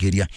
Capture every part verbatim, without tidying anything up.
muthikiria,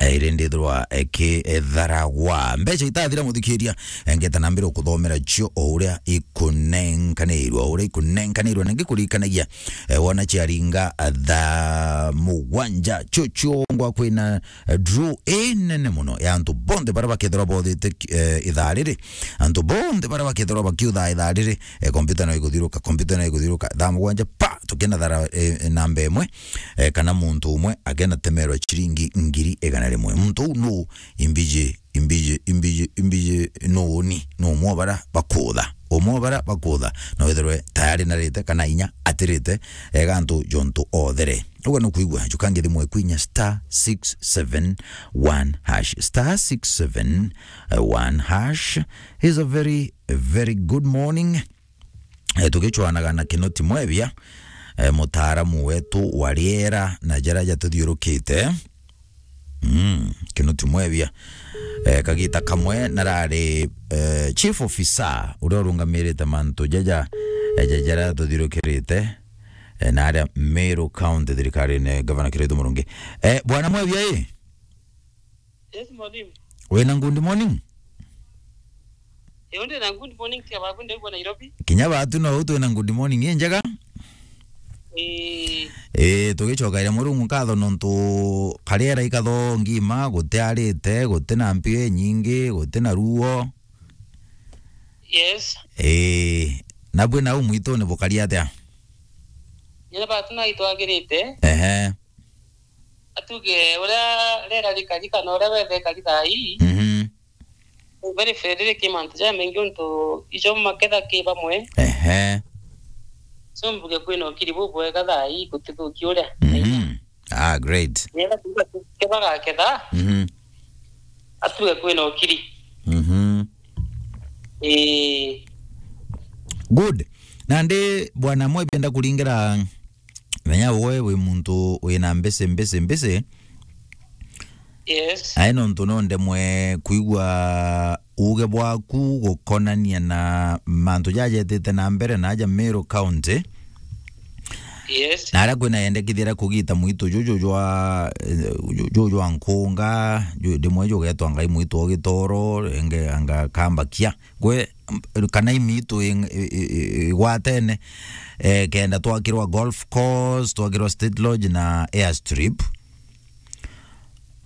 eh, iri ndithirwa ikitharagwa. Mbeca itathira muthikiria, eh, ngeta na mbere ukuthomera cio o uria ikunenkanirwa, o uria ikunenkanirwa, na ngikurikanagia, eh, wona ciaringa, eh, thaa mugwanja, cio ciongwa kwina, eh, draw inene muno ya antu bonthe baria bakethirwa bothite, eh, ithaa riri. Antu bonthe baria bakethirwa bakiuthaa ithaa riri, eh, kompyuta no iguthiruka, kompyuta no iguthiruka. Thaa mugwanja, pa, tukena thara, eh, namba imwe, eh, kana muntu umwe akena temerwa ciringi ngiri igana rimwe. Muntu uu nu? Imbiji, imbiji, imbiji, imbiji, nu ni? Nu umwe o baria bakutha. Umwe o baria bakutha. No withirwe tayari narite kana inya atirite, eh, gantu jontu othere. Uga nukwigua, jukange thimu eku inya star six seven one hash. Star six seven one hash. Is a very, very good morning. Eh, tugicwanaga na Kinoti Mwebia, eh, mutaaramu wetu wa riera na jaria jatuthiurukite. Mm, Kinoti Mwebia. Eh, kagita kamwe narari, eh, chief officer uria urungamirite mantu jaja, eh, ja-, jaria tuthiurukirite, eh, na aria Meru County thirikarine, Gavana Kiraitu Murungi. Eh, Bwana Mwebia, ii? Yes, mwalimu. Wina good morning? Ii, ndi na good morning, tia baku, ndaigua Nairobi. Kinya batu no twina good morning, ii njega? Ii. Ii, tugicokeria Murungu nkatho nontu kariera ikatho ngima, gutiarite, gutina mpio inyingi, gutina ruo. Yes. Ii, nabwi nau mwituni bukari atia? Nyina batu na itwagirite. Ehe. Atuge uria rera rikari kana uria wethe kari thaa ii. Mhm. Very fair, riri ki mantu jamaingi untu ijo maketha ki bamwe. Ehe. So mbuge kwina ukiri bubwega thaa ii gutithuki uria. Mhm. Ah, great. Nigetha tuge ke bagaketha. Mhm. Atuge kwina ukiri. Mhm. Ii. Good. Nandi bwana mwe bienda kuringira menya we wi muntu wina mbisi, mbisi, mbisi. Yes. Ai nontu no ndemwe kwigua uge bwaku gukonania na mantu jajetite na mbere na aja Meru County. Yes. Na aria kwina yendekithia ria kugita mwitu juju jwa, eh, ju-, juju jwa nkunga, ju-, ndimwe jugetwa ngai mwitu o gitoro, enge anga kambakia. Gwe, m-, kana imitu i-, i-, i-, i-, igwatene, eh, kenda twakirwa golf course, twakirwa State Lodge na airstrip.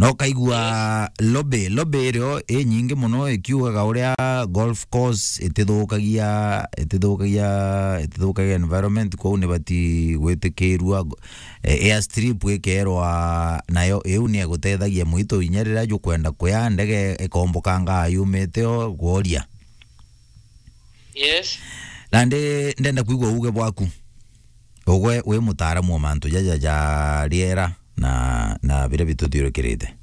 No kaigua lobby, lobby irio inyingi muno ikiugaga uria golf course itithukagia, itithukagia, itithukagia environment, kwou nibati gwitikirua, eh, airstrip ikerwa nayo iu ni igutethagia mwitu inya riria jukwenda kuya ndege ikombokanga yumite o gworia. Yes. Nandi ndenda kwigua uge bwaku. Ugwe wi mutaaramu wa mantu jaja ja riera na, na biria bituthiurukirite.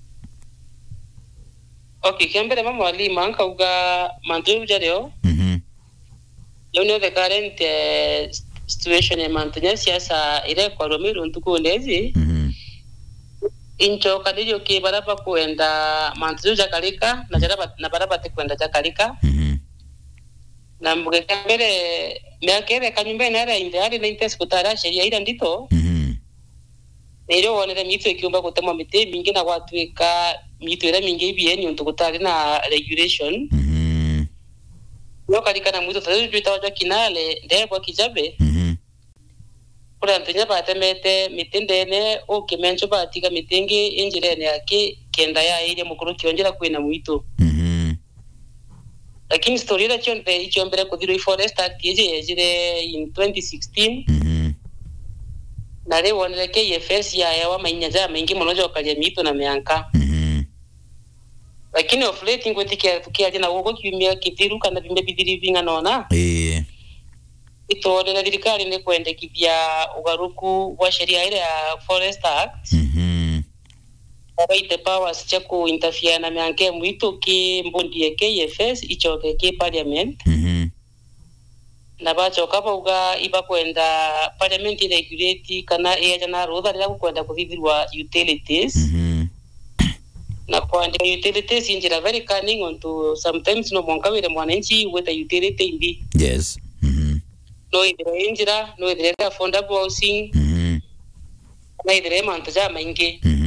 Okay, kia mbere ma mwalimu, ankauga mantu jau jario. Mhm. Jau nio the current, eh, situation ya mantu ja siasa iria ikwarua Meru ntukune iji. Mhm. Inchokaniririo ki baria bakwenda mantu jau jakarika na jaria bat-, na baria batikwenda jakarika. Mhm. Na mbuge kia mbere, miaka iria eka nyumbene aria inthe ari na intesi gutari a sheria iria ndito. Mhm. Na irio wonere mitu ikiumba gutemwa miti imingi na gwatuika mitu iria mingi ibieni untu gutari na regulation. Mhm. Nio karikana mwitu ta riu jwitagwa jwa Kinale, ndebwa Kijabe. Mhm. Kuri antu inya batemete miti ndene, ukimencho batiga miti ingi i njirene yaki kenda yairia mukuruki o njira kwina mwitu. Mhm. Lakini story iria cionthe iciombere kuthirwa i Forest Act iji yejire in twenty sixteen. Mhm. Na riu wonere K F S yaewa mainya jamaingi mono jokaria miitu na mianka. Mhm. Lakini of late ngwitikia tukiaria na guku kiumia kithiru kana biumia bithiru bing'anona. Ii. Itwonere thirikari ni kwendekithia ugaruku bwa sheria iria ya Forest Act. Mhm. Na baite powers cia ku interfere na mianka ya mwitu ki mbundi ya K F S ichoke ki parliament. Mhm. Na bachoka bauga ibakwenda parliament iregulate kana iejana rutha riria gukwenda kuthithirwa utilities. Mhm. Na kwandika utilities i njira very cunning, ontu sometimes no mwanka wire mwananchi gwita utility imbi. Yes. Mhm. No ithire i njira, no ithire affordable housing, Mhm. na ithire i mantu jamaingi. Mhm.